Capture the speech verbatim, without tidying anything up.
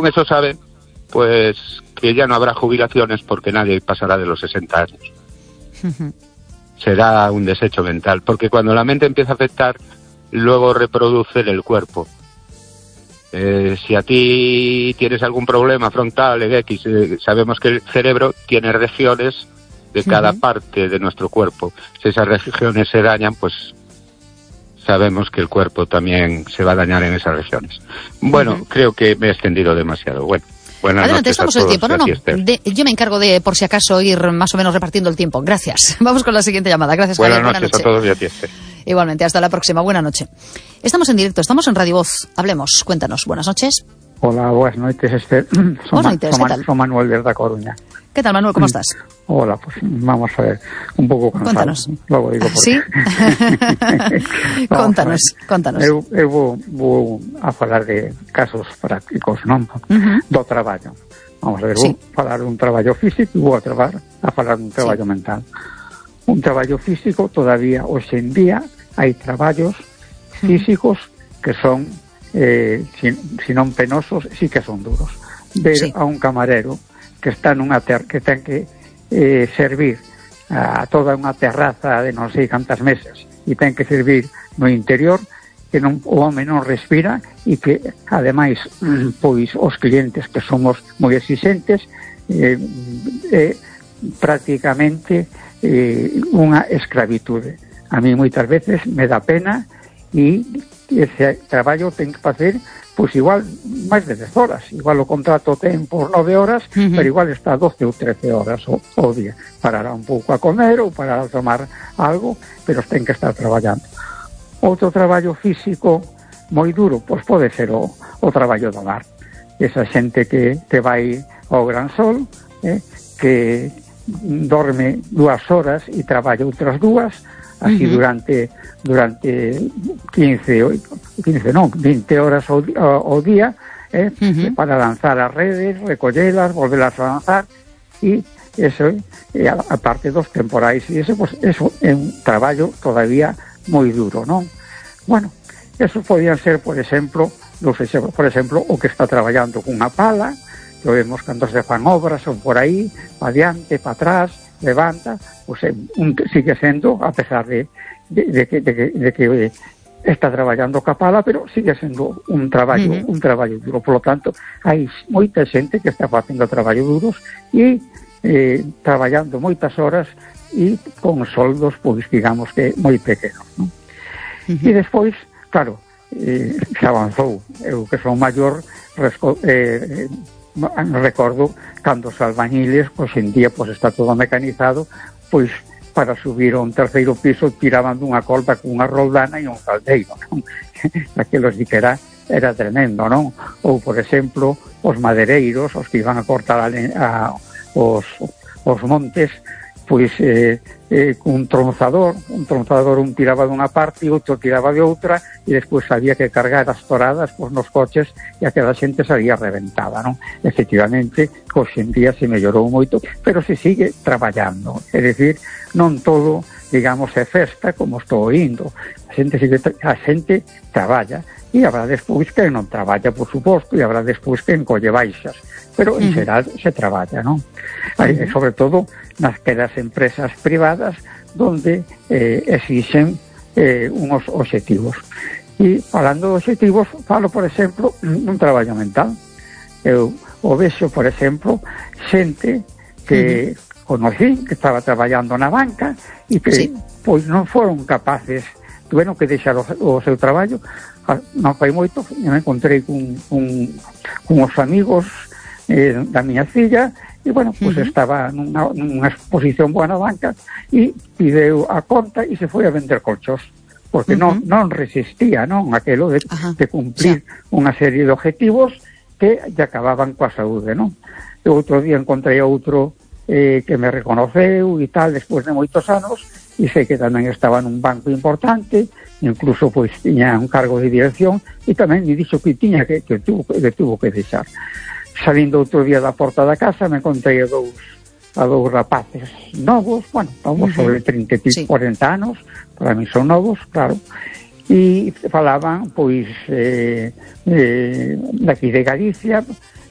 con eso saben pues que ya no habrá jubilaciones porque nadie pasará de los sesenta años. Uh-huh. Será un desecho mental, porque cuando la mente empieza a afectar, luego reproduce en el cuerpo. Eh, si a ti tienes algún problema frontal en X, eh, sabemos que el cerebro tiene regiones de cada uh-huh. parte de nuestro cuerpo. Si esas regiones se dañan, pues sabemos que el cuerpo también se va a dañar en esas regiones. Bueno, uh-huh. creo que me he extendido demasiado. Bueno, buenas Adelante, noches estamos a el todos, tiempo. No, no, de, yo me encargo de, por si acaso, ir más o menos repartiendo el tiempo. Gracias. Vamos con la siguiente llamada. Gracias, buenas Javier. Noches Buenas noches a todos y a ti, Esther. Igualmente, hasta la próxima. Buenas noches. Estamos en directo, estamos en Radio Voz. Hablemos, cuéntanos. Buenas noches. Hola, buenas noches, Esther. Buenas noches, ¿qué tal? Soy Manuel de La Coruña. ¿Qué tal, Manuel? ¿Cómo estás? Hola, pues vamos a ver, un pouco cansado. Cuéntanos. Logo digo por ¿Sí? Contanos, contanos. Eu, eu vou, vou a falar de casos prácticos, non? Uh-huh. Do traballo. Vamos a ver, sí. Vou falar dun traballo físico e vou a, trabar, a falar dun traballo sí. mental. Un traballo físico, todavía, hoxe en día, hai traballos físicos uh-huh. que son, eh, si, si non penosos, sí que son duros. Ver sí. a un camarero que está nunha ter que ten que eh, servir a toda unha terraza de non sei cantas mesas e ten que servir no interior, que non, o home non respira e que ademais pois os clientes que somos moi exigentes eh, eh, prácticamente eh, unha esclavitude. A mí moitas veces me dá pena e ese traballo ten que facer pois igual máis de dez horas, igual o contrato ten por nove horas, uh-huh. pero igual está doce ou trece horas o, o día. Parará un pouco a comer ou parará a tomar algo, pero ten que estar traballando. Outro traballo físico moi duro, pois pode ser o, o traballo do mar. Esa xente que te vai ao gran sol, eh, que dorme dúas horas e traballa outras dúas, así uh-huh. durante durante quince, quince non, vinte horas ao, ao día, eh, uh-huh. para lanzar as redes, recollelas, volvelas a lanzar, e eso, eh, a parte dos temporais, e eso, pues, eso é un traballo todavía moi duro, non? Bueno, eso podían ser, por exemplo, los, por exemplo, o que está traballando cunha pala, que vemos cando se fan obras, son por aí, pa diante, pa atrás, levanta, pues un, sigue sendo, a pesar de, de, de, que, de, que, de que está traballando ca pala, pero sigue sendo un traballo, uh-huh. un traballo duro. Por lo tanto, hai moita xente que está facendo traballo duros e eh, traballando moitas horas e con soldos, pois, digamos que moi pequenos, non? Uh-huh. E despois, claro, eh, se avanzou. Eu que son maior, resco, eh, recordo cando os albañiles, pois en día pois está todo mecanizado, pois para subir a un terceiro piso tiraban dunha colba cunha roldana e un caldeiro, non? Aquelos di que era, era tremendo, non? Ou, por exemplo, os madereiros, os que iban a cortar a, a, os, os montes, pois eh, eh, un tronzador, un tronzador un tiraba dunha parte e outro tiraba de outra e despois había que cargar as toradas pois, nos coches e aquela xente salía reventada, non? Efectivamente, hoxe en día se mellorou moito, pero se sigue traballando, é dicir, non todo, digamos, é festa como estou indo, a xente, sigue, a xente traballa e habrá despois que non traballa, por suposto, e habrá despois que encolle baixas, pero en xeral se traballa, non? Uh-huh. Sobre todo nas que das empresas privadas donde eh, exixen eh, unos obxectivos. E falando de obxectivos, falo, por exemplo, un traballo mental. Eu o vexo, por exemplo, xente que uh-huh. conocí, que estaba traballando na banca e que sí. pois non foron capaces, tuveron que deixar o, o seu traballo. Non fai moito, me encontrei con, con, con os amigos eh, da miña filla e, bueno, pois pues uh-huh. estaba nunha, nunha exposición boa na banca e pideu a conta e se foi a vender colchos porque uh-huh. non, non resistía, non, aquelo de, uh-huh. de cumplir sí. unha serie de objetivos que lle acababan coa saúde, non? E outro día encontrei outro eh, que me reconoceu e tal, despois de moitos anos, e sei que tamén estaba nun banco importante, incluso pois tiña un cargo de dirección e tamén me dixo que tiña que, que, tuvo, que tuvo que deixar. Salindo outro día da porta da casa me encontrei a dous, a dous rapaces novos, bueno, novos uh-huh. sobre trinta, sí. cuarenta anos, para mí son novos, claro, e falaban, pois, eh, eh, daqui de Galicia,